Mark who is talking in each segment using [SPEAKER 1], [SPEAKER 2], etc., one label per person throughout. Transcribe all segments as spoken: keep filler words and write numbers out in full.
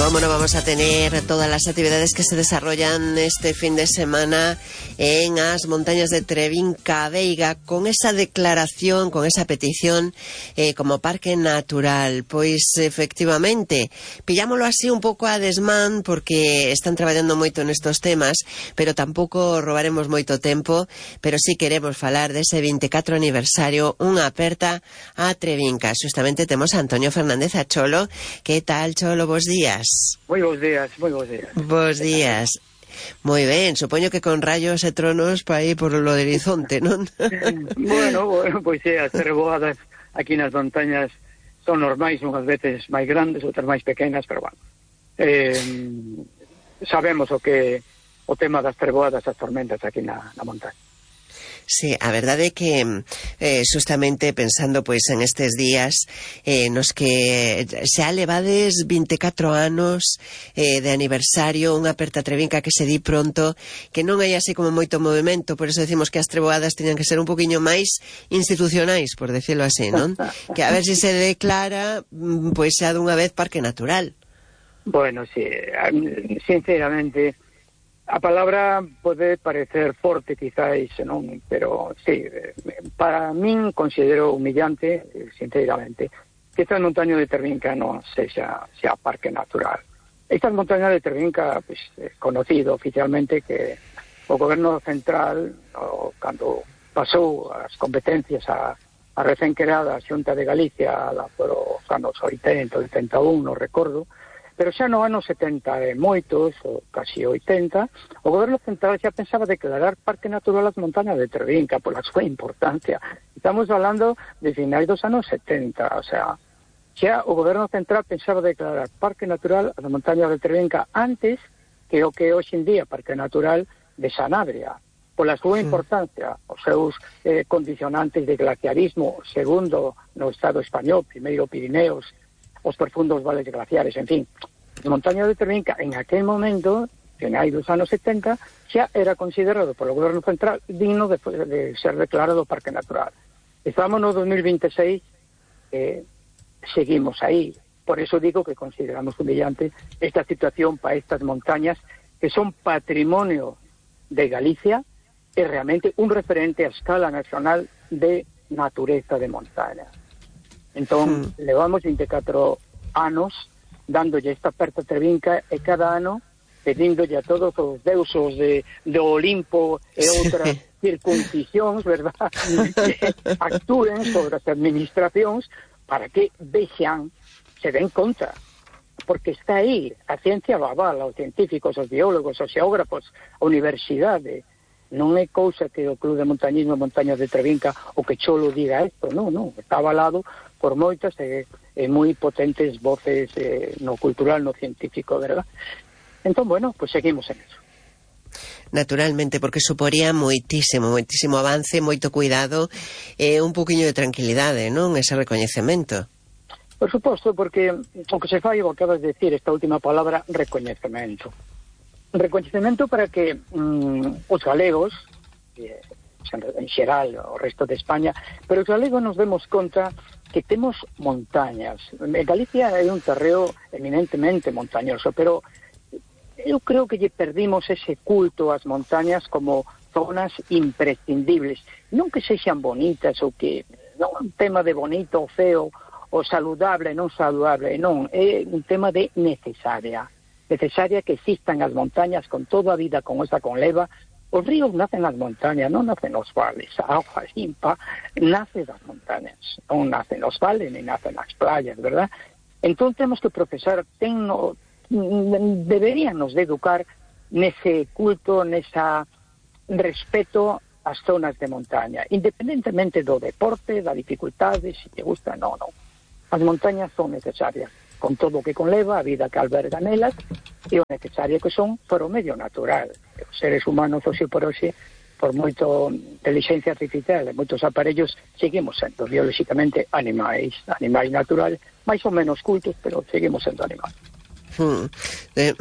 [SPEAKER 1] ¿Cómo no vamos a tener todas las actividades que se desarrollan este fin de semana en las montañas de Trebinca Veiga con esa declaración, con esa petición eh, como parque natural? Pois efectivamente, pillámoslo así un pouco a desmán porque están traballando moito nestos temas, pero tampouco robaremos moito tempo, pero sí queremos falar dese veinticuatro aniversario, unha aperta a Trebinca. Justamente temos a Antonio Fernández a Cholo. Que tal, Cholo? Bos días.
[SPEAKER 2] Moi bons días, moi bons días.
[SPEAKER 1] Bos días. Moi ben, supoño que con rayos e tronos para aí por lo do horizonte, non?
[SPEAKER 2] bueno, bueno, pois é, as treboadas aquí nas montañas son normais, unhas veces máis grandes, outras máis pequenas, pero bueno. Eh, sabemos o que o tema das treboadas, as tormentas aquí na, na montaña.
[SPEAKER 1] Sí, a verdade é que eh, justamente pensando pois en estes días eh, nos que xa levades veinticuatro anos eh, de aniversario, unha aperta Trebinca que se di pronto, que non hai así como moito movimento, por eso decimos que as treboadas teñan que ser un poquinho máis institucionais, por decirlo así, non? Que a ver se se declara pois xa dunha vez parque natural.
[SPEAKER 2] Bueno, sí, sinceramente a palabra pode parecer forte quizáis, non? Pero sí, para min considero humillante, sinceramente, que estas montañas de Trebinca non sexa, sea parque natural. Estas montañas de Trebinca, pues, é conocido oficialmente que o goberno central, o, cando pasou as competencias a, a recén creada Xunta de Galicia por os anos oitenta, oitenta e un, non recordo, pero xa no ano setenta e moitos, ou casi oitenta, o goberno central xa pensaba declarar parque natural as montañas de Trebinca pola súa importancia. Estamos falando de finais dos anos setenta, o sea, xa o goberno central pensaba declarar parque natural as montañas de Trebinca antes que o que hoxe en día parque natural de Sanabria, pola súa importancia, os seus eh, condicionantes de glaciarismo, segundo no Estado español, primeiro Pirineos, os profundos vales glaciares, en fin. A montaña de Trebinca, en aquel momento, en hai dos anos setenta, xa era considerado polo goberno central digno de, de ser declarado parque natural. Estamos no dos mil veintiséis, eh, seguimos aí. Por eso digo que consideramos humillante esta situación para estas montañas que son patrimonio de Galicia e realmente un referente a escala nacional de natureza de montaña. Entón, hmm. levamos veinticuatro anos dándolle esta aperta Trebinca e cada ano pedíndolle a todos os deusos de, de Olimpo e outras sí. circuncisións, verdad, que actúen sobre as administracións para que vexan, se den conta, porque está aí, a ciencia lo avala, os científicos, os biólogos, os xeógrafos, a universidade. Non é cousa que o Club de Montañismo Montañas de Trebinca o que Cholo diga isto, non, non, está avalado por moitas e, e moi potentes voces eh, no cultural, no científico, verdad? Entón, bueno, pues seguimos en eso.
[SPEAKER 1] Naturalmente, porque suporía moitísimo, moitísimo avance, moito cuidado e eh, un poquinho de tranquilidade, non? Ese recoñecemento.
[SPEAKER 2] Por suposto, porque o que se fai, o que acabas de decir, esta última palabra, recoñecemento. Recoñecemento para que mm, os galegos, eh, en xeral o resto de España, pero os galegos nos demos conta que temos montañas. Galicia é un terreo eminentemente montañoso, pero eu creo que lle perdimos ese culto ás montañas como zonas imprescindibles. Non que sexan bonitas ou que non é un tema de bonito ou feo ou saludable, non saludable, non, é un tema de necesaria. Necesaria que existan as montañas con toda a vida con esa conleva. Os ríos nacen nas montañas, non nacen nos vales. A auga limpa nace das montañas, non nacen nos vales, ni nacen nas playas, verdad? Entón temos que profesar, ten no, deberíanos de educar nese culto, nesa respeto ás zonas de montaña, independentemente do deporte, da dificultade, se te gusta, non, non. As montañas son necesarias, con todo o que conleva a vida que alberga nelas e o necesario que son para o medio natural. Os seres humanos, hoxe por hoxe, por moito inteligencia artificial e moitos aparellos, seguimos sendo biolóxicamente animais, animais naturales, máis ou menos cultos, pero seguimos sendo animais.
[SPEAKER 1] Hmm. Eh,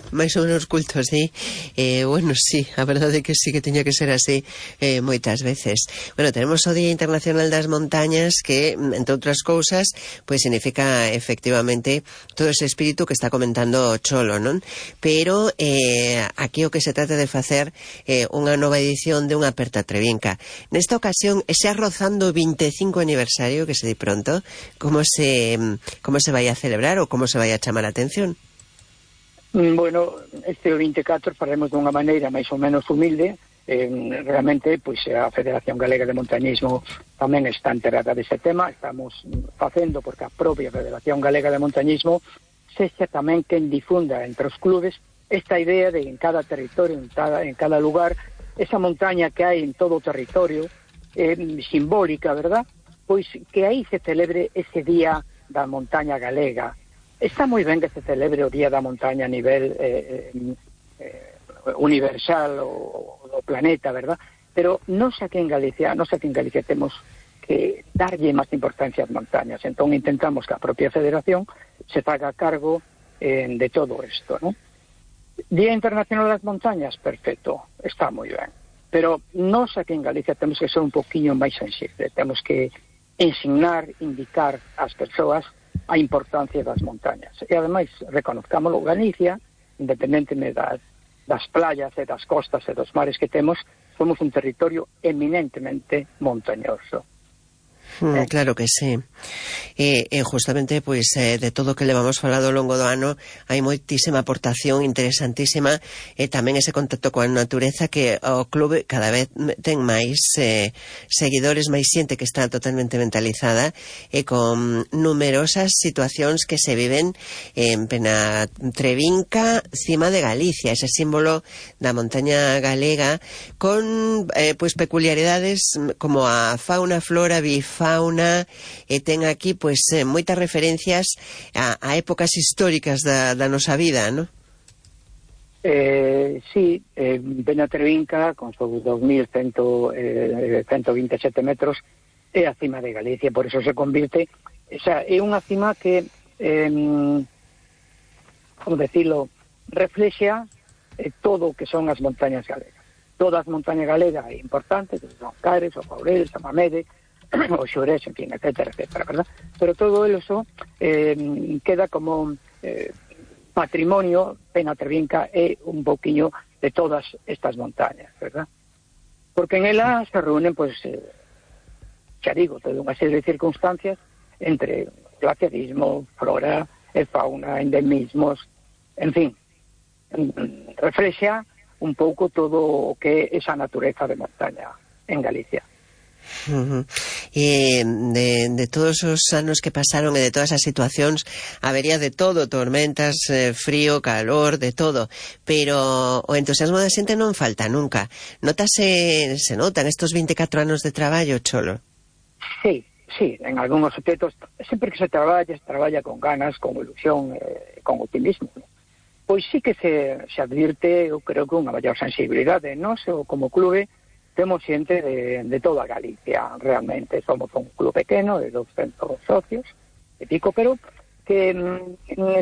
[SPEAKER 1] máis ou menos culto, sí. Eh, bueno, sí, a verdade é que sí que tiña que ser así eh, moitas veces. Bueno, tenemos o Día Internacional das Montañas que, entre outras cousas, pois significa efectivamente todo ese espírito que está comentando o Cholo, non? Pero eh, aquí o que se trata de facer eh, unha nova edición de unha Aperta Trevinca. Nesta ocasión, ese arrozando vinte e cinco aniversario, que se di pronto, como se, como se vai a celebrar ou como se vai a chamar a atención?
[SPEAKER 2] Bueno, este vinte e catro faremos dunha maneira máis ou menos humilde. Eh, realmente, pois a Federación Galega de Montañismo tamén está enterada dese tema. Estamos facendo porque a propia Federación Galega de Montañismo sexa tamén quen difunda entre os clubes esta idea de en cada territorio, en cada, en cada lugar, esa montaña que hai en todo o territorio, eh, simbólica, verdad? Pois que aí se celebre ese día da montaña galega. Está moi ben que se celebre o Día da Montaña a nivel eh, eh, universal o do planeta, verdad? Pero non sei que en Galicia, non sei que en Galicia temos que darlle máis importancia ás montañas. Entón intentamos que a propia federación se faga cargo eh, de todo isto, ¿no? Día Internacional das Montañas, perfecto, está moi ben. Pero non sei que en Galicia temos que ser un poquinho máis sensible. Temos que ensinar, indicar ás persoas a importancia das montañas. E ademais, reconozcámoslo, Galicia, independentemente das, das playas e das costas e dos mares que temos, somos un territorio eminentemente montañoso.
[SPEAKER 1] Mm, claro que sí. E, e justamente, pois, eh, de todo o que levamos falado ao longo do ano, hai moitísima aportación interesantísima e tamén ese contacto coa natureza que o clube cada vez ten máis eh, seguidores, máis xente que está totalmente mentalizada e con numerosas situacións que se viven en plena Trevinca, cima de Galicia, ese símbolo da montaña galega con eh, pois peculiaridades como a fauna, flora, bifauna, fauna, e ten aquí pois eh, moitas referencias a, a épocas históricas da, da nosa vida, non?
[SPEAKER 2] Eh, sí, eh, Bena Trevinca con seus dos mil cento vinte e sete metros é a cima de Galicia, por eso se convirte, o sea, é unha cima que eh, como decirlo, reflexa eh, todo o que son as montañas galegas. Todas as montañas galegas é importante, desde o Cares, o Caurel, o Mamede, o Xores, en fin, etcétera, etcétera, ¿verdad? Pero todo eso eh, queda como eh, patrimonio. Bena Trevinca é un pouquiño de todas estas montañas, ¿verdad? Porque en elas se reúnen, pues, eh, xa digo, toda unha serie de circunstancias entre glaciarismo, flora e fauna, endemismos, en fin, reflexa un pouco todo o que é esa natureza de montaña en Galicia.
[SPEAKER 1] Uh-huh. E de, de todos os anos que pasaron e de todas as situacións habería de todo, tormentas, eh, frío, calor, de todo, pero o entusiasmo da xente non falta nunca. Notase, se notan estos vinte e catro anos de traballo, Cholo?
[SPEAKER 2] Sí, sí, en algúns aspectos sempre que se traballa, se traballa con ganas, con ilusión, eh, con optimismo, ¿no? Pois sí que se, se advirte, eu creo que unha maior sensibilidade, non? Se, como clube temos xente de, de toda Galicia, realmente. Somos un club pequeno de doscientos socios e pico, pero que,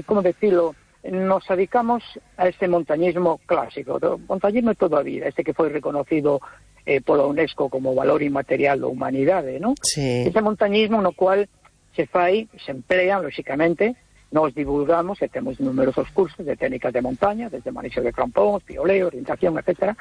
[SPEAKER 2] como decirlo, nos dedicamos a ese montañismo clásico, o montañismo de toda a vida, este que foi reconocido eh, pola UNESCO como valor inmaterial da humanidade, ¿no?
[SPEAKER 1] Sí.
[SPEAKER 2] Ese montañismo no cual se fai, se emplea, lóxicamente, nos divulgamos e temos numerosos cursos de técnicas de montaña, desde manexo de crampóns, pioleo, orientación, etcétera,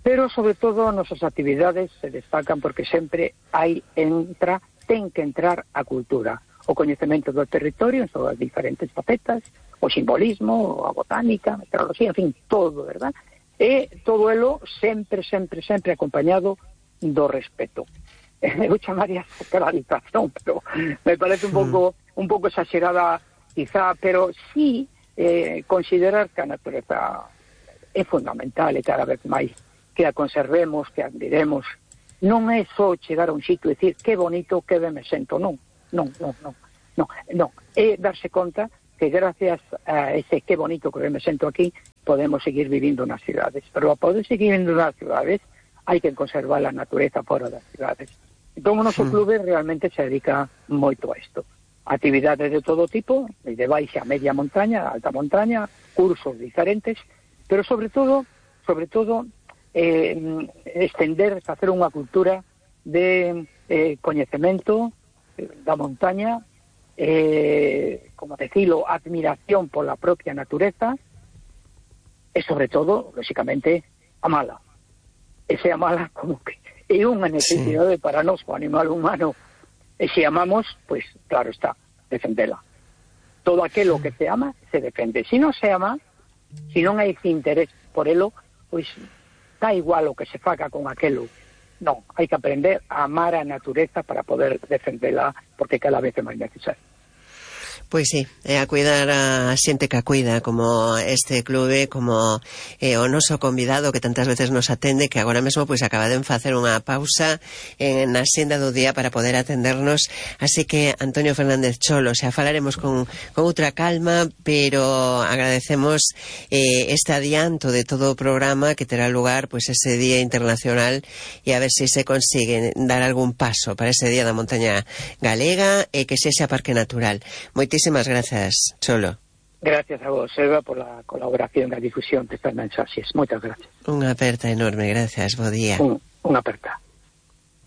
[SPEAKER 2] pero sobre todo nosas actividades se destacan porque sempre hai entra, ten que entrar a cultura, o coñecemento do territorio en todas as diferentes facetas, o simbolismo, a botánica, a meteorología, en fin, todo, verdad? E todo elo sempre, sempre, sempre acompañado do respeto. Eu chamaría sacralización, pero me parece un pouco un pouco exagerada quizá, pero sí eh, considerar que a natureza é fundamental e cada vez máis que a conservemos, que a admiremos. Non é só chegar a un sitio e dicir que bonito, que ben me sento, non, non, non, non, non, non. É darse conta que gracias a ese que bonito que ben me sento aquí, podemos seguir vivindo nas cidades, pero a poder seguir vivindo nas cidades hai que conservar a natureza fora das cidades. Entón o noso clube realmente se dedica moito a isto, actividades de todo tipo, de baixa a media montaña, alta montaña, cursos diferentes, pero sobre todo, sobre todo, eh, estender, facer unha cultura de eh, coñecemento da montaña, eh, como decirlo, admiración por la propia natureza, e sobre todo, lógicamente, amala. E se amala como que é unha necesidade sí. para nós, o animal humano, e se amamos, pues claro está, defendela. Todo aquilo que se ama, se defende. Se non se ama, se non hai interés por elo, pois da igual o que se faga con aquelo. Non, hai que aprender a amar a natureza para poder defendela, porque cada vez é máis necesario.
[SPEAKER 1] Pois sí, é a cuidar a xente que a cuida, como este clube, como eh, o noso convidado que tantas veces nos atende, que agora mesmo pois acaba de facer unha pausa en na xenda do día para poder atendernos, así que Antonio Fernández Cholo, xa falaremos con, con outra calma, pero agradecemos eh, este adianto de todo o programa que terá lugar pois ese Día Internacional, e a ver se se consigue dar algún paso para ese Día da Montaña Galega e que sexa parque natural. Moitísimas Muchísimas gracias, Cholo.
[SPEAKER 2] Gracias a vos, Eva, por la colaboración e a difusión destas mensaxes. Moitas gracias.
[SPEAKER 1] Unha aperta enorme, gracias, bo día.
[SPEAKER 2] Un, unha aperta.